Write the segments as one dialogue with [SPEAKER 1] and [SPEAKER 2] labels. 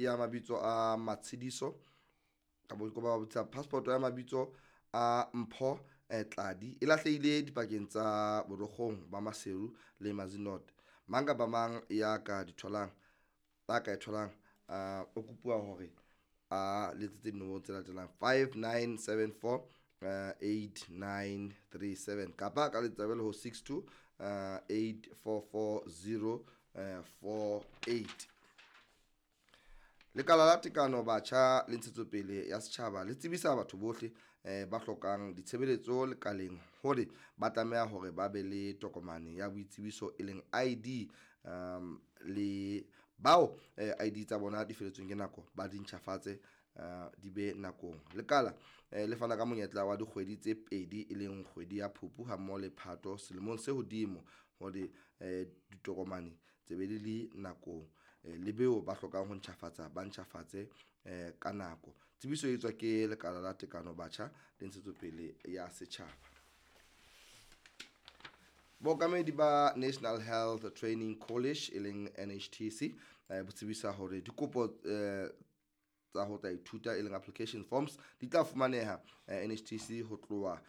[SPEAKER 1] ya mabitso a Matshidiso kapa ke ba bitsa passport ya mabitso a Mpho Tladi e lahlehile dipakeng tsa Borokgong ba Maseru le Mazinot. Mang kapa mang ya ka di tholang, a ka e tholang, o kopuwa hore a letsetse dinomoro tse latelang 5974 8937 kapa ka letsa jwale ho 62 8440 48. Lekala la Tekano Batjha le Ntshetsopele ya Setjhaba le tsebisa batho bohle ba hlokang ditshebeletso lekaleng hore ba tlameha hore ba be le tokomane ya boitsebiso e leng ID, le bao ID tsa bona di feletsweng ke nako ba di ntjhafatse, di be nakong. Lekala le fana ka monyetla wa dikgwedi tse pedi e leng kgwedi ya Phupu hammoho le Phato selemong se hodimo hore ditokomane tse be di le nakong, le beo ba hlokang ho ntjhafatsa ba ntjhafatse ka nako. Tsebiso e etswa ke Lekala la Tekano Batjha le Ntshetsopele ya Setjhaba. Bookamedi ba National Health Training College e leng NHTC bo tsebisa hore dikopo tsa ho tla ithuta e leng application forms di tla fumaneha NHTC ho tloha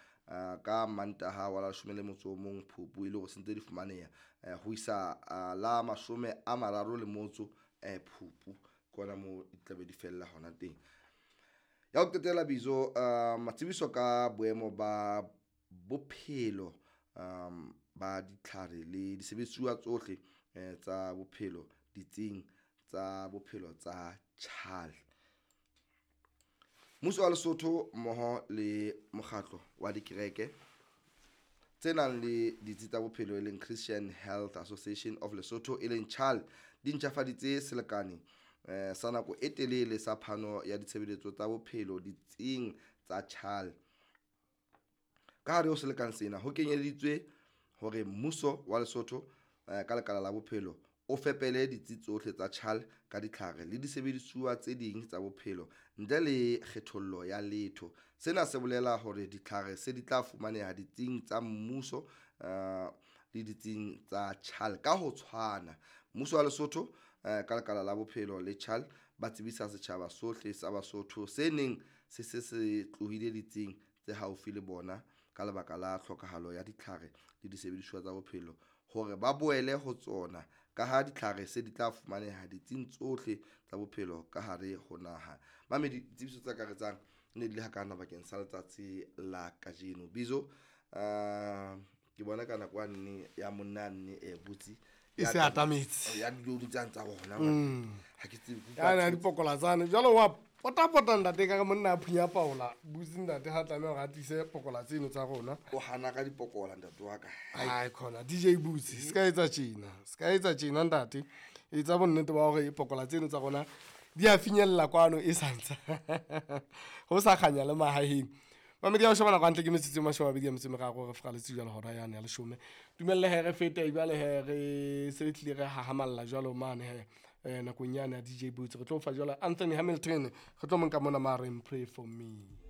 [SPEAKER 1] ka Mantaha wa la 11 Phupu, e le hore sentse di fumaneha ho isa la 38 Phupu, ke hona moo di tla be di fella hona teng. Ya ho qetela bizo, matsebiso ka boemo ba bophelo ba ditlhare le disebedisuwa tsohle tsa bophelo ditsing tsa bophelo tsa CHAL. Mmuso wa Lesotho mmoho le mokgatlo wa dikereke tse nang le ditsi tsa bophelo e leng Christian Health Association of Lesotho e leng CHAL di ntjhafaditse selekane sa nako e telele sa phano ya ditshebeletso tsa bophelo ditsing tsa CHAL. Ka hare ho selekane sena ho kenyeleditswe hore mmuso wa Lesotho ka lekala la bophelo o fepele ditsi tsohle tsa CHAL ka ditlhare le disebedisuwa tse ding tsa bophelo ntle le kgethollo ya letho. Sena se bolela hore ditlhare se di tla fumaneha ditsing tsa mmuso le ditsing tsa CHAL ka ho tshwana. Mmuso wa Lesotho ka lekala la bophelo le CHAL ba tsebisa setjhaba sohle sa Basotho se neng se se se tlohile ditsing tse haufi le bona ka lebaka la tlhokahalo ya ditlhare le disebedisuwa tsa bophelo hore ba boele ho tsona, ka ha ditlhare se di tla fumaneha ditsing tsohle tsa bophelo ka hare ho naha. Mamedi, ditsebiso tse akaretsang ne di le hakana bakeng sa letsatsi la kajeno. Bizo, ke bona ka nako nne ya monna nne e butsi
[SPEAKER 2] e se atametse
[SPEAKER 1] ya dilodi tsane tsa bona, ha ke tsebe.
[SPEAKER 2] Yana dipokola tsane jwalo wa potapota ntate ka monna a phunya paola butsi ntate ha tlameha hore a tlise pokola tseno tsa rona.
[SPEAKER 1] O hana ka dipokola ntate wa ka.
[SPEAKER 2] Ai khona DJ Butsi, se ka etsa tjena, se ka etsa tjena ntate, etsa bonnete ba hore pokola tseno tsa rona di a finyella kwano e santsa ho sa kganya le mahaheng. Mamedi ya ho shebana kantle ke metsotso e 23 re fraletse jwalo hora yane ya 10. Dumelle he re fete jwale he re se re tlile re hahamalla jwalo mane he nakong yane ya DJ Boots. Re tlo fa jwalo Anthony Hamilton, re tlo monka mona mareng Pray For Me.